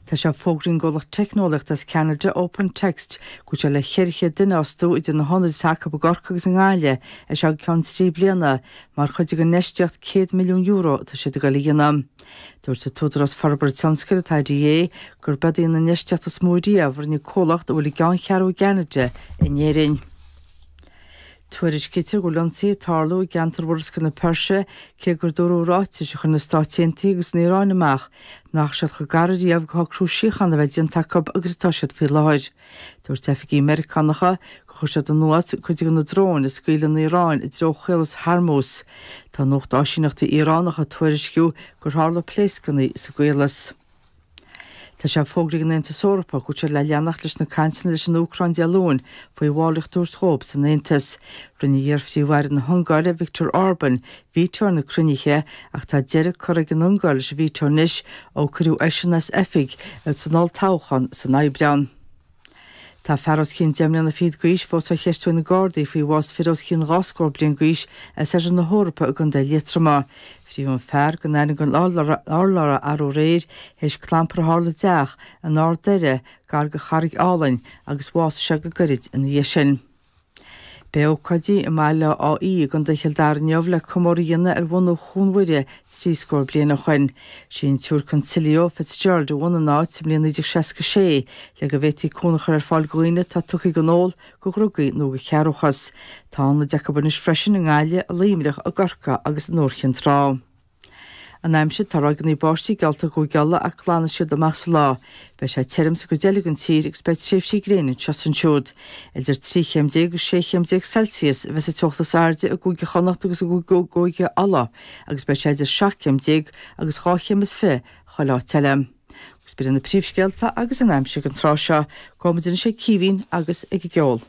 Tá sé fógraithe ag an gcomhlacht teicneolaíochta as Ceanada, Open Text, go bhfuil sé le 400 duine a fhostú idir na hionaid atá acu i gCorcaigh agus i nGaillimh as seo go ceann 3 bliana mar chuid den infheistíocht €100 milliún atá siad ag dul a dhéanamh. Dúirt an tÚdarás Forbartha Tionscail, an IDA, gurb í an infheistíocht is mó riamh a rinne comhlacht a bhfuil a gceanncheathrú i gCeanada in Éirinn. Tuairiscítear go bhfuil ionsaithe ag tarlú i gceantar Mhurascaill na Peirse cé gur dúradh i ráitis a chuir na Stáit Aontaithe agus an Iaráin amach nach raibh siad chomh gar ariamh go shocrú síochána a bheith déanta acu agus atá siad faoi láthair. Dúirt oifigigh Meiriceánacha gur chuir siad anuas cuid de na dróin a scaoil an Iaráin i dtreo Chaolas Hormuz. Tá nuacht áisíneachtaí Iaránacha ag tuairisciú gur tharla pléascanna sa gcaolas. Tá sé fógraithe ag an Aontas Eorpach go bhfuil siad le leanacht leis na cainteanna leis an Úcráin Dé Luain faoi bhallraíocht a thabhairt dhóibh san Aontas. Rinne iar-phríomh-aire na hUngáire, Viktor Orban, veto ar na cruinnithe ach tá deireadh curtha ag an Ungáir leis an veto anois ó cuireadh eisean as oifig san olltoghchán san Aibreán. Tá fear os cionn deich mbliana fichead d'aois fós á cheistiú ag na Gardaí faoi bhás fir os cionn dhá scór bliain d'aois as oirthear na hEorpa i gContae Liatroma. Frítheadh an fear gan ainm don urlabhra arú aréir théis clampar a tharla i dteach in Ard Doire gar do Charraig Álainn agus bhásaigh sé go gairid ina dhiaidh sin. Beidh ócáidí i mBaile Átha Í i gContae Chill Dara inniu le comóradh a dhéanamh ar bhunú Chuan Mhuire 30 scór bliain ó shoin. Sí an tSiúr Consilio Fitzgerald a bhunaigh an áit sa mbliain 1966 le go bhféadfaí cúnamh a chur ar fáil do dhaoine atá tugtha don ól, do dhrugaí nó do chearrbhachas. Tá ionaid acu anois freisin i nGaillimh, i Luimneach, i gCorcaigh agus in Iúr Chinn Trá. An aimsir, Tá ráigeanna báistí geallta i gCúige Uladh ach glanfaidh siad amach sa lá. Beidh sé tirim sa gcuid eile den tír agus beidh tréimhsí gréine anseo is ansiúd. Idir 13 chéim agus 16 chéim Celsius a bheas an teocht is airde i gCúige Chonnacht agus i gCúige Uladh agus beidh sé idir 17 chéim agus 22 chéim chuile áit eile. Agus b'in iad na príomhscéalta agus an aimsir don tráth seo. Gabhfaidh muid anois ag Caoimhín agus ag an gceol.